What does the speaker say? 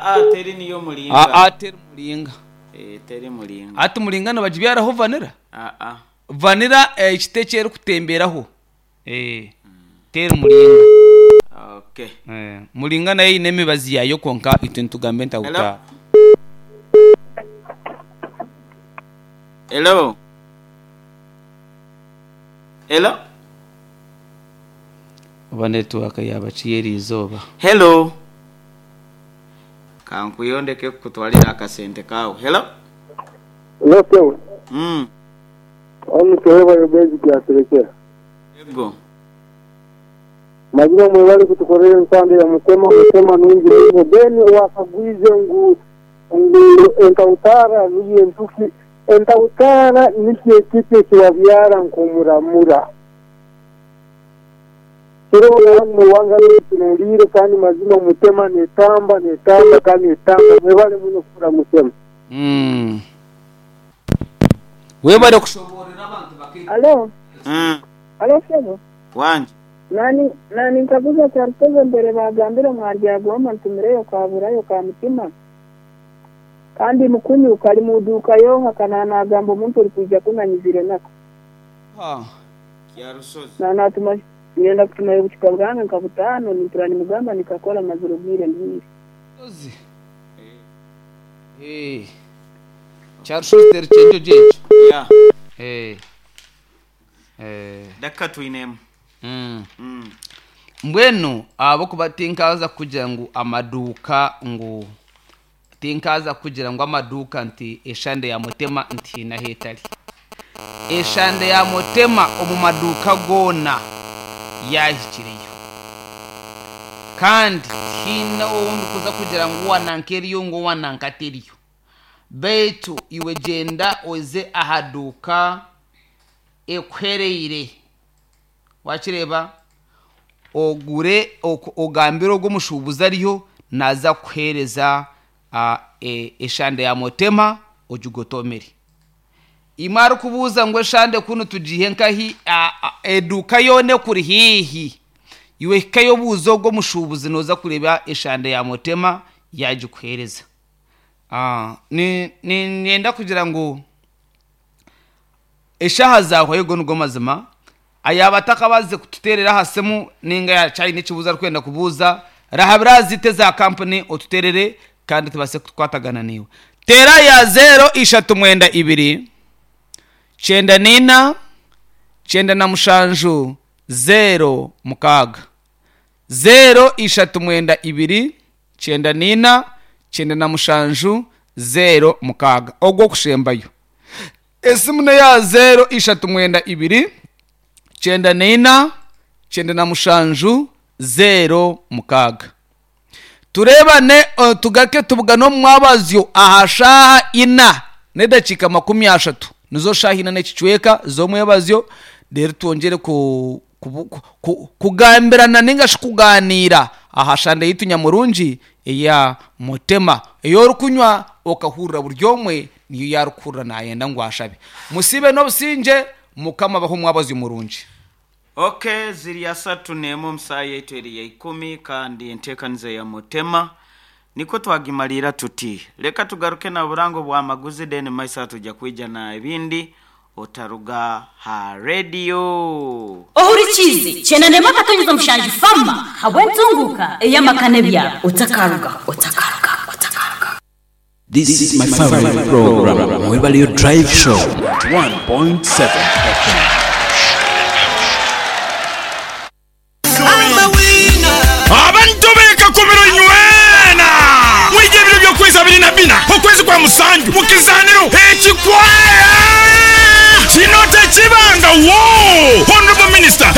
Aa teri niyo muringa. Aa teri muringa. Ee teri muringa. Hati muringa nibagibyaraho vanira? Aa. Vanira ekiti eki erikutemberaho ee teri muringa. Okay. Muringa nayo eine emibazi yaayo kwonka itwe nitugamba Hello? entahutaara. Hello? Hello? Oba netiwaaka yaaba ki y'eriizooba? Hello? Kankwiheho ndeke kukutwarira akasente kaawe. Hello? Hello sebo. Mm. Onu Tereba Bezi Kyaserekyera. Ego. Mazima mwebale kutukorera ensande ya mutema mutema nungi muno then wakagwize ngu ngu entautara niyo entuki entautara nikyo ekiti ekibabyara nkomuramura kiro hanu wanga tunuliire kandi mazima mutema netamba netamba kandi netamba mwebale muno kukora mutema. Mm. Webale kushoboorora abantu bake. Alo, Mm. alo sebo. Wangi. Nani nani nkaguza Kyarutozi mbere bagambire mwaryagoma ntumireyo kaburayo ka mutima. Kandi mukunyu kali muduka yoha kana nagamba omuntu ori kwija kunanyizire nako. Ha. Kyarusozi. Na natuma ngenda kutumayo obucupa bwange nka butano nimpura nimugamba nikakora mazire obwire ndwire. Sozi. Eh. Kyarushozi teri kyenjo gyekyo. Yeah. Eh. Eh. Dakika twinemu. Mm. Mm. Mbwenu ahabw'okuba tinkaaza kugira ngu amaduuka ngu tinkaaza kugira ngu amaduuka nti eshande ya mutema nti haine ahu etari. Eshande ya mutema omu maduuka goona yaahikireyo. Kandi tihaine ou ndikuza kugira ngu owa nanka eriyo ngu owa nanka teriyo. Beitu iwe gyenda oze aha duuka ekuhereire. Waakireeba? Ogure ogambire ogwo omushuubuzi ariyo naaza kukuheereza eshande ya mutema ogigotomere. Imwe arikubuuza ngu eshande kunu tugiihe nkahi eduuka yoona ekuri haihi iwe hikayo obuuze ogwo omushuubuzi nooza kureeba eshande ya mutema yaagikuheereza. Niinyenda kugira ngu Eshaaha zaahwayo ago nigo mazima. Yaaba atakabaasize kututeerera aha simu nainga yaaba aine ekibuuzo arikwenda kubuuza, rahabira aha ziitu eza kampuni otuteerere kandi tubaase kukwatagana naiwe. Teera ya zeero ishatu mwenda ibiri, kyenda naina, kyenda na mushanju, zeero mukaaga. Zeero ishatu mwenda ibiri, kyenda naina, kyenda na mushanju, zeero mukaaga. Ogw'okushembayo. Esimu n'eya zeero ishatu mwenda ibiri, kyenda naina, kyenda na mushanju, zeero mukaaga. Tureebane tugaruke tubugane omu mwabazyo aha shaaha ina n'edakiika 30, nizo shaaha ina n'ekicweka z'omwebazyo, reero twongyere ku kugambirana nainga shi kugaaniira aha shande yaitu nyamurungi eya Mutema ei orikunywa okahurira buri omwe niyo yaarikuhurira naayenda ngu ashabe. Musiibe n'obusingye, Mukama abahe omwabazyo murungi. Ok, ziri asatu n'emwe omu saaha yaitu eri ya ikumi kandi enteekaniza ya Mutema nikwo twagimariira tuti. Leka tugaruke na burango bwa maguzi then maiso aha twija kwija na ebindi Otaruga ha rediyo! Ohurikiize Kyenanema Akatonyeza Mushanju Farmer habw'entunguuka ey'amaka n'ebyaro. Otakaruga, otakaruga, otakaruga. This is my favorite program, Mwebaleyo Drive Show 1.7 FM. Abantu b'e Kakumiro inywena mwije ebiro by'okwezi abiri na bina okwezi kwa musanju mu kizaaniro ekikwaya! Kino tekibanga wo! Honourable Minister.